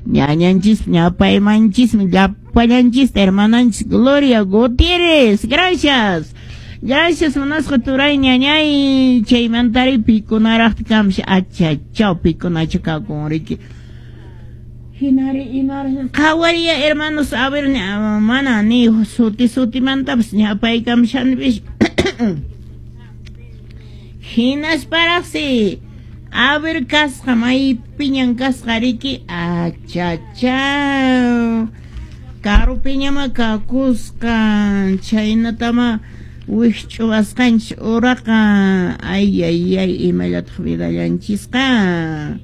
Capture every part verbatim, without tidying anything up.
Ñañanchis ñapaymanchismi llapallanchis hermananchis Gloria Gutiérrez. Gracias. Gracias, munasqa turay ñañay. Chaymantari pikunaraqta kamshi achachaw pikunachu kakun riki. Hinari imar qhawariya hermanos, a ver, mana ni suti sutimantapas ñapaykamshanpis. Hinasparaqsi a ver kasqa maypiñan kasqa riki achachaw karupiñama kakusqa chaynatama wikch'uwasqanchis uraqa ay ay ay imallataq vidallanchisqa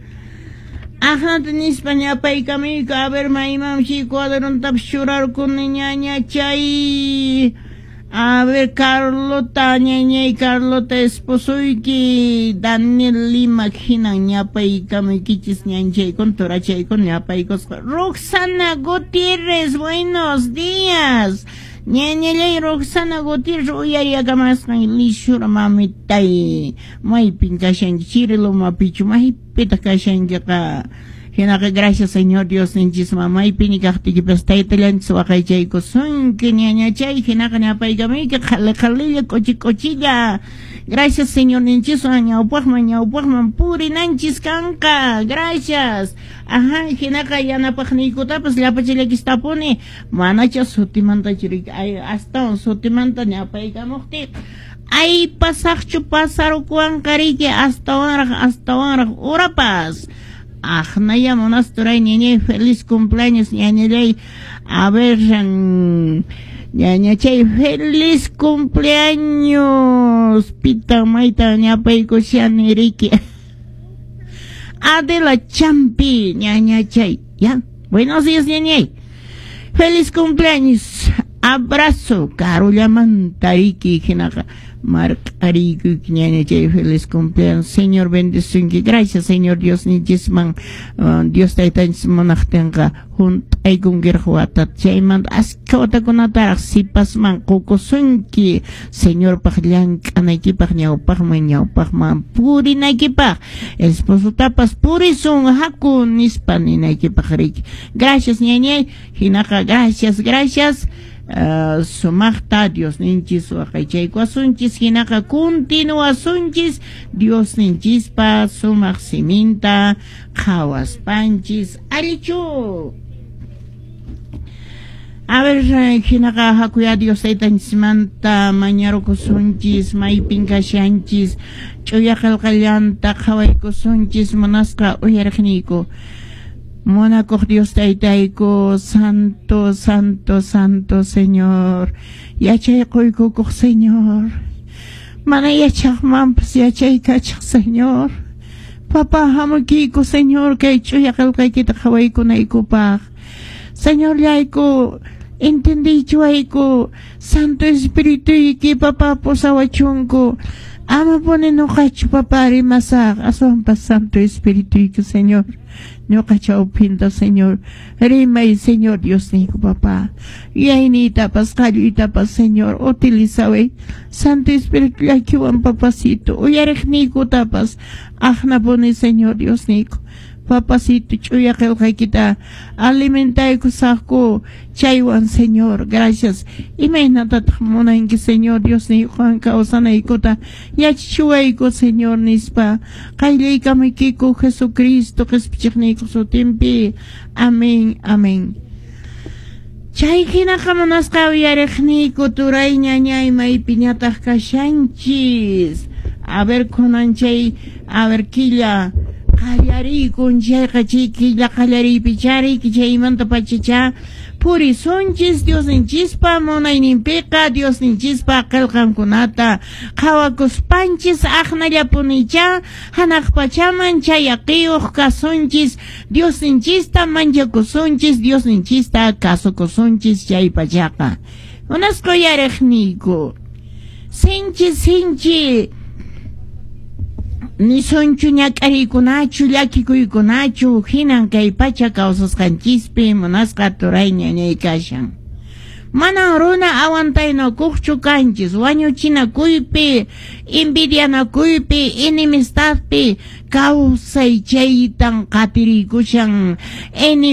Ajnata nispa ñapaykamuyku a ver maymanshi cuadrontapas churarkuni ñaña chay a ver Carlota ñañay Carlota esposoyki Daniel Lima hinan ñapaykamuykichis ñanchaykun turachaykun ñapaykusqa Roxana Gutiérrez, buenos días. Ñañallay Roxana Gutiérrez uyariyakamasqan lishura mamitay maypin kashanki Chirilumapichu maypitaq kashankiqa hinaqa gracias Señor Dios ninchisman maypini kaqtiykipas taytallanchis waqaychaykusunki ñañachay hinaqa ñapaykamuyki qhali qhalilla k'uchi k'uchilla gracias Señor ninchiswan ñawpaqman ñawpaqman purinanchis kanqa gracias ajá hinaqa yanapaqniykutapas llapachallakistapuni manacha sutimantachu riki ay astawan sutimanta ñapaykamuqtiy ay pasaqchu pasarukuwanqa riki astawanraq astawanraq urapas Ajnaya munasturay ñañay feliz cumpleaños ñañallay a ver ñañachay feliz cumpleaños pita mayta ñapaykushani riki Adela Champi ñañachay ya buenos días ñañay feliz cumpleaños abrazo karullamanta riki hinaqa marq'ariykuki ñañachay feliz cumpleaños Señor bendisunki gracias Señor Dios ninchisman uh, Dios taytanchis munaqtinqa hunt'aykunkiraq watata chaymanta askha watakunataraq sipasman qukusunki Señorpaq llank'anaykipaq ñawpaqman ñawpaqman purinaykipaq esposotapas purisun haku nispa ninaykipaq riki gracias ñañay hinaqa gracias gracias Uh, sumaqta Dios ninchis waqaychaykuwasunchis hinaqa continuasunchis Dios ninchispa sumaq siminta qhawaspanchis allichu a ver hinaqa hakuya Dios taytanchismanta mañarukusunchis maypin kashanchis ch'uya qillqallanta qhawaykusunchis munasqa uyariqniyku Munakuq Dios taytayku, santo, santo, santo Señor, yachay quykukuq Señor, mana yachaqmanpas yachaykachaq Señor, Papá hamukiyku Señor kay ch'uya qillqaykita qhawaykunaykupaq, Señorllayku entendiychiwayku Santo Espirituyki Papá pusawachunku, ama puni ñuqachu Papá rimasaq aswanpas Santo Espirituyki Señor. Ñuqa chawpinta Señor rimay Señor Dios niyku Papá yuyayniytapas qalluytapas Señor utilizaway Santo Espíritu llakiwan papacito uyariqniykutapas aqnapuni Señor Dios niyku papacito ch'uya qillqaykita alimentaykusaqku chaywan Señor gracias imaynatataq munanki Señor Dios niykuwan kawsanaykuta yachachiwayku Señor nispa qayllaykamuykiku Jesucristo qispichiqniyku sutinpi amén amén chay hinaqa munasqa uyariqniyku turay ñañay maypiñataq kashanchis a ver kunan chay a ver killa qallariykun chayqa chay killa qallariypi chariyki chaymanta pachacha purisunchis Diosninchispa munayninpiqa Diosninchispa qillqankunata qhawakuspanchis aqnallapunicha hanaq pachaman chayaqiyuq kasunchis Diosninchista manchakusunchis Diosninchista kasukusunchis chay pachaqa munasqa uyariqniyku sinchi sinchi nisunchu ñak'ariykunachu llakikuykunachu hinan kay pacha kawsasqanchispi munasqa turay ñañay kashan manan runa aguantaynakuqchu kanchis wañuchinakuypi envidianakuypi enemistadpi kawsay chaytan qatiriykushan enemigo